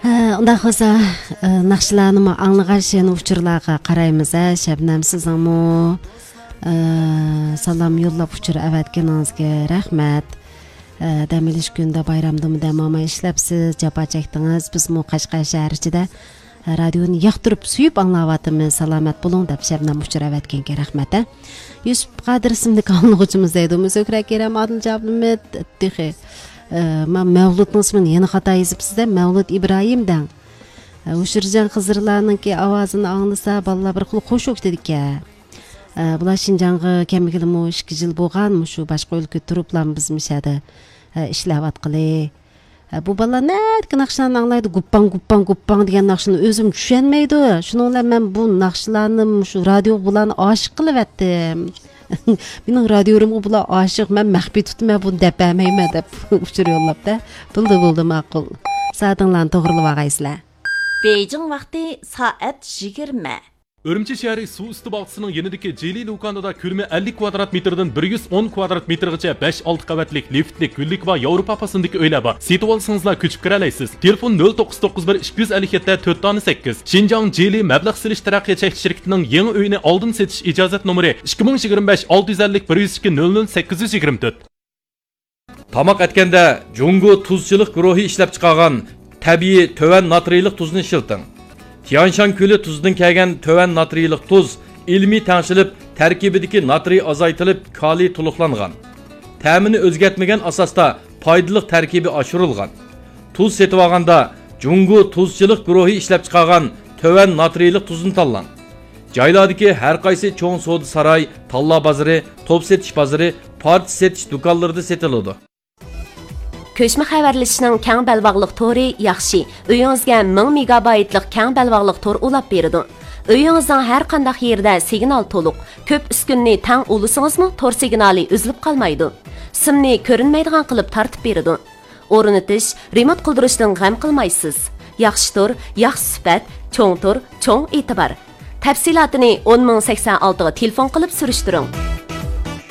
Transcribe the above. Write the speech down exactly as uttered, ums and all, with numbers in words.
ھە، ئۇنداق بولسا، ئە، ناخشىلارنىمۇ ئاڭلىغاچ، يەنە ئۇچۇرلارغا قارايمىز، ھە. شەبنەم، سىزنىڭمۇ، ئە، سالام يوللاپ ئۇچۇر ئەۋەتكىنىڭىزگە رەھمەت. ئە، دەم ئېلىش كۈنىدە، بايرامدىمۇ دەم ئالماي ئىشلەپسىز، جاپا چەكتىڭىز. بىزمۇ قەشقەر شەھەر ئىچىدە، ئە، رادىيونى ياقتۇرۇپ، سۆيۈپ ئاڭلاۋاتىمىز. سالامەت بولۇڭ، دەپ شەبنەم ئۇچۇر ئەۋەتكەنكەن، رەھمەت، ھە. يۈسۈپ قادىر ئىسىملىك ئاڭلىغۇچىمىز دەيدۇ، مۇزۆكرە كېرەم، ئادىل جابلىمىت، تېخى. ئە، ما-، مەۋلۇتنىڭ ئىسمىنى يەنە خاتا يېزىپسىز-دە، مەۋلۇت ئىبراھىم دەڭ. ئە، ھۇشۇرجان خىزىرلارنىڭكى ئاۋازىنى ئاڭلىسا، بالىلار بىر خىل خۇش بولۇپ كېتىدىكەن. ئە، بۇلار شىنجاڭغا كەلمىگىلىمۇ ئىككى يىل بولغان، مۇشۇ باشقا ئۆلكىدە تۇرۇپلا بىز مۇشۇ يەردە، ئە، ئىشلەۋاتقىلى. ئە، بۇ بالىلار نەدىكى ناخشىلارنى ئاڭلايدۇ؟ گۇپپاڭ، گۇپپاڭ، گۇپپاڭ دېگەن ناخشىنى ئۆزۈم چۈشەنمەيدۇ. شۇنىڭ بىلەن مەن بۇ ناخشىلارنى مۇشۇ رادىيوغا بۇلارنى ئاشىق قىلىۋەتتىم. مېنىڭ رادىيورۇمغا بۇلار ئاشىق، مەن مەخپىي تۇتىمەن، بۇنى دەپ بەرمەيمەن دەپ ئۇچۇر يوللاپتە. بولدى، بولدى، ماقۇل. سائىتىڭلارنى توغرىلىۋالغايسىلەر. بېيجىڭ ۋاقتى سائەت يىگىرمە. ئۈرۈمچى شەھىرى سۇ ئۈستى باغچىسىنىڭ يېنىدىكى جىلى لۇكاندىدا كۆلىمى ئەللىك كۋادرات مېتىردىن بىر يۈز ئون كۋادرات مېتىرغىچە بەش، ئالتە قەۋەتلىك لىفتلىك، گۈللۈكى بار ياۋروپا پاسوندىكى ئۆيلەر بار. سېتىۋالسىڭىزلا كۆچۈپ كىرەلەيسىز. تېلېفون: نۆل توققۇز توققۇز بىر، ئىككى يۈز ئەللىك يەتتە، تۆت دانە سەككىز. شىنجاڭ جىلى مەبلەغ سېلىش تەرەققىيات چەكلىك شىركىتىنىڭ يېڭى ئۆيىنى ئالدىن سېتىش ئىجازەت نومۇرى: ئىككى مىڭ يىگىرمە بەش، ئالتە يۈز ئەللىك، بىر يۈز ئىككى، نۆل نۆل سەككىز يۈز يىگىرمە تۆت. تاماق ئەتكەندە جۇڭگو تۇزچىلىق گۇرۇھى ئىشلەپچىقارغان تەبىئىي تۆۋەن ناترىيلىق تۇزنى ئىشلىتىڭ. تيانشان كۆلى تۇزىدىن كەلگەن تۆۋەن ناترىيلىق تۇز ئىلمىي تەڭشىلىپ، تەركىبىدىكى ناترىي ئازايتىلىپ، كالىي تولۇقلانغان. تەمىنى ئۆزگەرتمىگەن ئاساستا پايدىلىق تەركىبى ئاشۇرۇلغان. تۇز سېتىۋالغاندا جۇڭگو تۇزچىلىق گۇرۇھى ئىشلەپچىقارغان تۆۋەن ناترىيلىق تۇزنى تاللاڭ. جايلاردىكى ھەر قايسى چوڭ سودا ساراي، تاللا بازىرى، توپ سېتىش بازىرى، پارچە سېتىش دۇكانلىرىدا سېتىلىدۇ. كۆچمە خەۋەرلىشىشنىڭ كەڭ بەلباغلىق تورى ياخشى. ئۆيىڭىزگە مىڭ مېگابايتلىق كەڭ بەلباغلىق تور ئۇلاپ بېرىدۇ. ئۆيىڭىزنىڭ ھەر قانداق يېرىدە سىگنال تولۇق. كۆپ ئۈسكۈنىنى تەڭ ئۇلىسىڭىزمۇ تور سىگنالى ئۈزۈلۈپ قالمايدۇ. سىمنى كۆرۈنمەيدىغان قىلىپ تارتىپ بېرىدۇ. ئورنىتىش، رېمونت قىلدۇرۇشتىن غەم قىلمايسىز. ياخشى تور، ياخشى سۈپەت، چوڭ تور، چوڭ ئېتىبار. تەپسىلاتىنى ئون مىڭ سەكسەن ئالتىغا تېلېفون قىلىپ سۈرۈشتۈرۈڭ.